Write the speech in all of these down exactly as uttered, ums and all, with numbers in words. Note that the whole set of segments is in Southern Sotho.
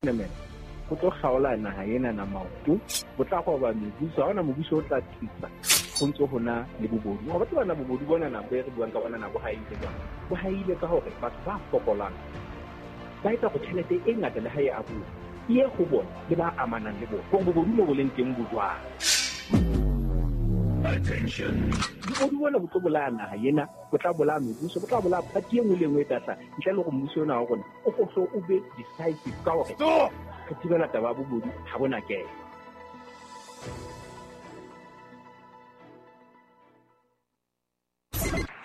Ho tlo kgaola naha ena na maoto, bo tla roba mebuso, ha hona mobuso o tla thusa. Ho ntso hona le bobodu. Wa tseba na bobodu bona na bo re buang ka bona na bo haile jwang? Bo haile ka hore batho ba fokolang ba etsa hore tjhelete e ngata le ha e abuwa e ye ho bona le ba amanang le bona. Hore bobodu mo bo leng teng bo jwang? Attention. Bobodu bona bo tlo bolaya naha ena, bo tla bolaya mebuso, bo tla bolaya party e nngwe le e nngwe e tla hlaha. Ntle le hore mmuso ona wa rona o hlo o be decisive ka hore re thibela taba ya bobodu ha bona kena.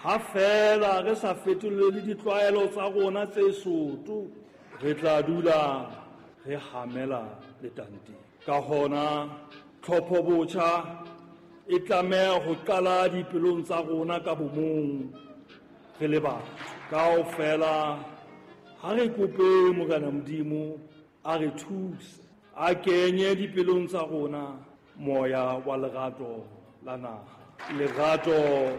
Ha feela re sa fetolele ditlwaelo tsa rona tse soto, re tla dula re hamela letanteng. Ka hona, tlhopho botjha e tlameha ho qala dipelong tsa rona ka bomong re le batho. Kaofela ha re kope Morena Modimo a re thuse, a kenye dipelong tsa rona moya wa lerato la naha, lerato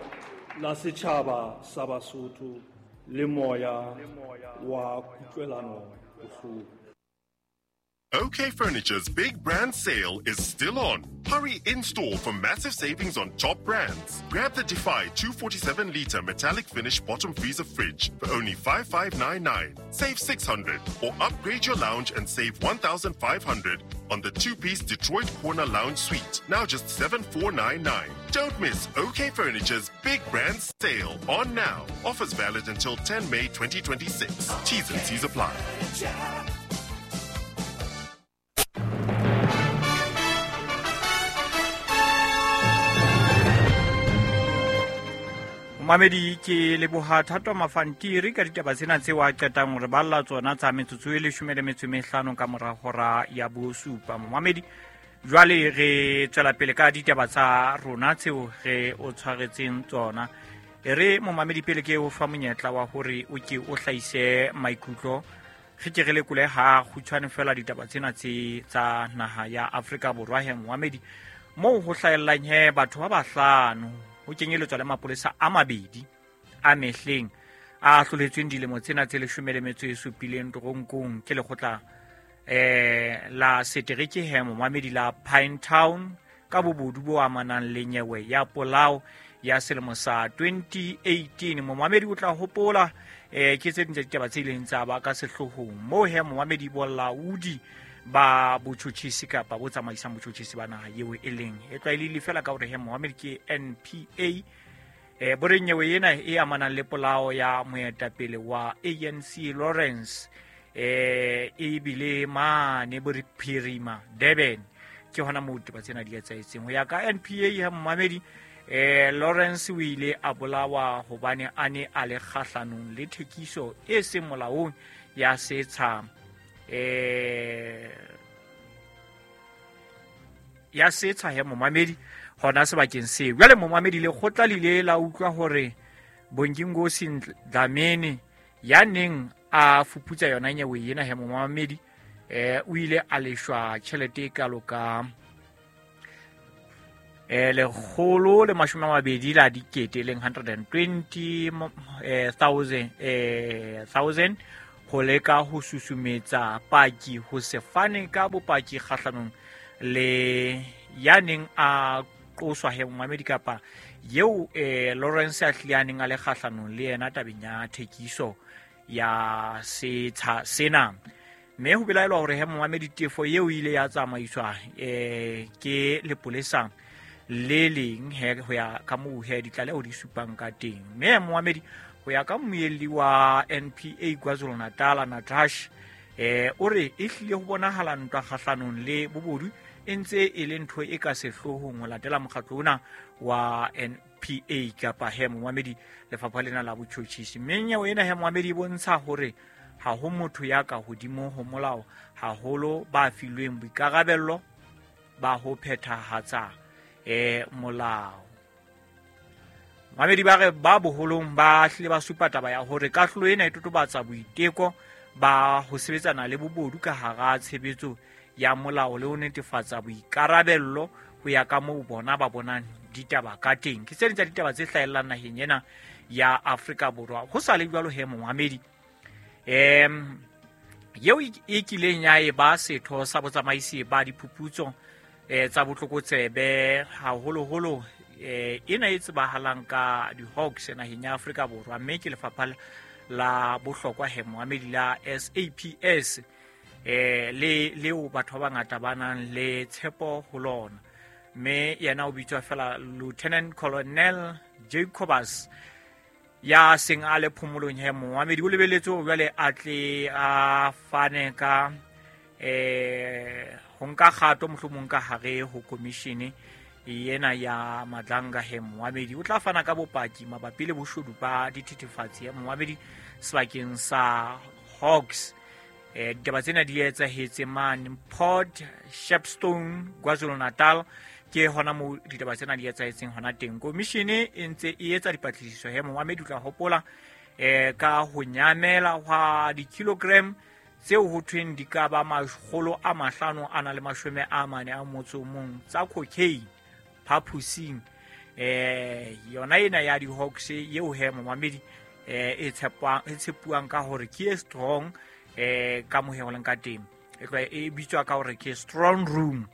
la setjhaba sa Basotho le moya wa kutlwelano bohloko. OK Furniture's big brand sale is still on. Hurry in-store for massive savings on top brands. Grab the Defy two forty-seven litre metallic finish bottom freezer fridge for only five five nine nine. Save six hundred or upgrade your lounge and save one thousand five hundred on the two-piece Detroit Corner Lounge Suite, now just seven four nine nine. Don't miss OK Furniture's big brand sale on now. Offers valid until ten May twenty twenty-six. T's and C's apply. Mamedi ke leboha Thato Mafantiri ka ditaba tsena tseo a qetang hore balla tsona tsa metsotso e leshome le metso e mehlano ka mora hora ya bosupa. Mamedi, jwale re tswela pele ka ditaba tsa rona tseo re o tshwaretseng tsona. E re momamedi pele ke o fa monyetla wa hore o ke o hlahise maikutlo, re ke re lekole ha kgutshwane fela ditaba tsena tse tsa naha ya Afrika Borwa. He momamedi, moo ho hlahellang he batho ba bahlano ho kenyeletswa le mapolesa a mabedi a mehleng a hloletsweng dilemo tsena tse leshome le metso e supileng toronkong ke lekgotla eh la setereke he momamedi la Pinetown ka bobodu bo amanang le nyewe ya polao ya selemo sa twenty eighteen. Momamedi o tla hopola eh ke tse ding tsa ditaba tse ileng tsa ba ka sehloohong moo he momamedi bolaodi ba botjhotjhisi kapa bo tsamaisang botjhotjhisi ba naha eo e leng e tlwaelehile fela ka hore he momamedi ke N P A eh bo re nyewe ena e amanang le polao ya moetapele wa A N C Lawrence eh e bile mane bo re Phirima Durban ke hona moo ditaba tsena di etsahetseng. Ho ya ka N P A ya momamedi eh Lawrence o ile a bolawa hobane a ne a le kgahlanong le thekiso e seng molaong ya setsha eh ya setsha he momamedi hona sebakeng seo. Jwale momamedi lekgotla le ile la utlwa hore Bonginkosi Dlamini ya neng a fuputsa yona nyewe ena he momamedi eh o ile a leshwa tjhelete e kalo ka eh lekgolo le mashome a mabedi la dikete leng hundred and twenty thousand eh thousand ho leka ho susumetsa paki ho se fane ka bopaki kgahlanong le ya neng a qoswa he momamedi kapa eo eh Lawrence a hlile a neng a le kgahlanong le yena tabeng ya thekiso ya setsha sena. Mme ho belaelwa hore he momamedi tefo eo ile ya tsamaiswa eh ke lepolesa le leng he ho ya ka moo he ditlaleho di supang ka teng. Mme momamedi ho ya ka mmuelli wa N P A KwaZulu-Natal Natasha eh o re e hlile ho bonahala ntwa kgahlanong le bobodu e ntse e le ntho e ka sehloohong ho latela mokgatlo ona wa N P A kapa he momamedi lefapha lena la botjhotjhisi. Mme nyewe ena he momamedi e bontsha hore ha ho motho ya ka hodimo ho molao, haholo ba filweng boikarabello ba ho phethahatsa eh molao. Mamedi ba re ba boholong ba hlile ba supa taba ya hore kahlolo ena e totobatsa boiteko ba ho sebetsana le bobodu ka hara tshebetso ya molao le ho netefatsa boikarabello ho ya ka moo bona ba bonang ditaba ka teng. Ke tse ding tsa ditaba tse hlahellang naheng ena ya Afrika Borwa. Ho sa le jwalo he momamedi, em Yeo e kileng ya e ba setho sa botsamaisi ba diphuputso eh tsa botlokotsebe haholoholo eh ena e tsebahalang ka di-Hawks naheng ya Afrika Borwa, mme ke lefapha la bohlokwa he moamedi la S A P S eh le leo batho ba bangata ba nang le tshepo ho lona. Mme yena o bitswa fela Lieutenant Colonel Jacobus ya seng a le phomolong he moamedi o lebeletse hore jwale a tle a fane ka eh ho nka kgato mohlomong ka hare ho commission yena ya Madlanga he moamedi o tla fana ka bopaki mabapi le boshodu ba dithethefatsi ya moamedi sebakeng sa Hawks. Eh ditaba tsena di etsahetse mane Port Shepstone, KwaZulu-Natal, ke hona moo ditaba tsena di etsahetseng hona teng. Commission e ntse e etsa dipatlisiso he moamedi o tla hopola eh ka ho nyamela hwa di-kilogram tseo ho thweng di ka ba makgolo a mahlano a na le mashome a mane a motso o mong tsa cocaine phaposing eh yona ena ya di-Hawks eo he momamedi eh e tshepwang e tshepuwang ka hore ke e strong eh ka moheoleng ka teng e bitswa ka hore ke strong room.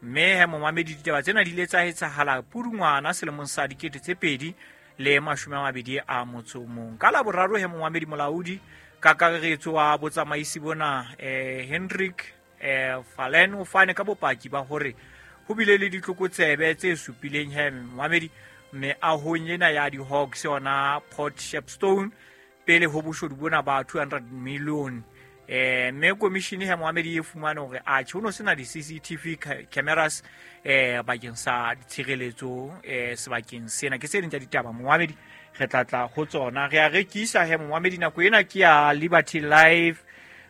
Mme he momamedi ditaba tsena di ile tsa etsahala Pudungwana selemong sa dikete tse pedi le mashome a mabedi a motso o mong. Ka Laboraro he momamedi molaodi kakaretso wa botsamaisi bona eh Hendrik eh Falen o fane ka bopaki ba hore ho bile le ditlokotsebe tse supileng he momamedi meahong ena ya di-Hawks yona Port Shepstone pele ho boshodu bona ba two hundred million. Eh mme commission he momamedi e fumane hore atjhe ho no sena di-C C T V cameras eh bakeng sa tshireletso eh sebakeng sena. Ke tse ding tsa ditaba momamedi re tla tla ho tsona. Re a rekisa he momamedi nako ena ke ya Liberty Life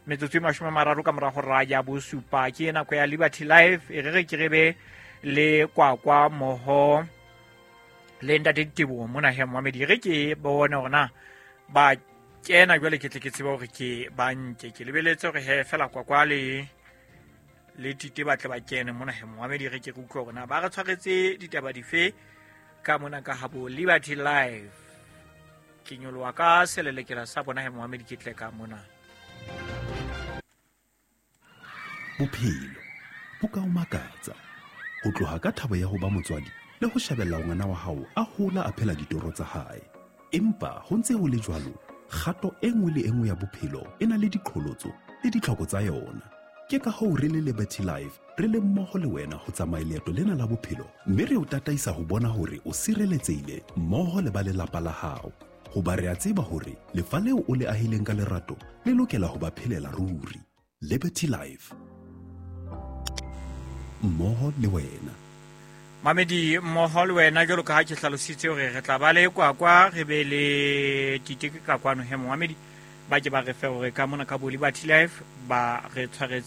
metsotso e mashome a mararo ka mora hora ya bosupa, ke nako ya Liberty Life. E re re ke re be le kwakwa moho le ntate Diteboho mona he momamedi, re ke bone hore na ba kena jwale ke tle ke tsebe hore ke ba nke. Ke lebeletse hore he fela kwakwa le le Tite ba tle ba kene mona he momamedi, re ke re utlwe hore na ba re tshwaretse ditaba dife ka mona ka habo Liberty Life. Ke nyoloha ka selelekela sa bona he momamedi ke tle ka mona. Bophelo bo ka o makatsa ho tloha ka thabo ya ho ba motswadi le ho shebella ngwana wa hao a hola a phela ditoro tsa hae. Empa ho ntse ho le jwalo, kgato e nngwe le e nngwe ya bophelo e na le diqholotso le ditlhoko tsa yona. Ke ka hoo re le Liberty Life re le mmoho le wena ho tsamaya leeto lena la bophelo, mme re o tataisa ho bona hore o sireletsehile mmoho le ba lelapa la hao. Hoba re a tseba hore lefa leo o le ahileng ka lerato le lokela ho ba phelela ruri. Liberty Life, mmoho le wena. Mamedi mmoho le wena jwalo ka ha ke hlalositse hore re tla ba le kwakwa re be le Tite ka kwano he momamedi ba ke ba re fe hore ka mona ka bo Liberty Life ba re tshwaretse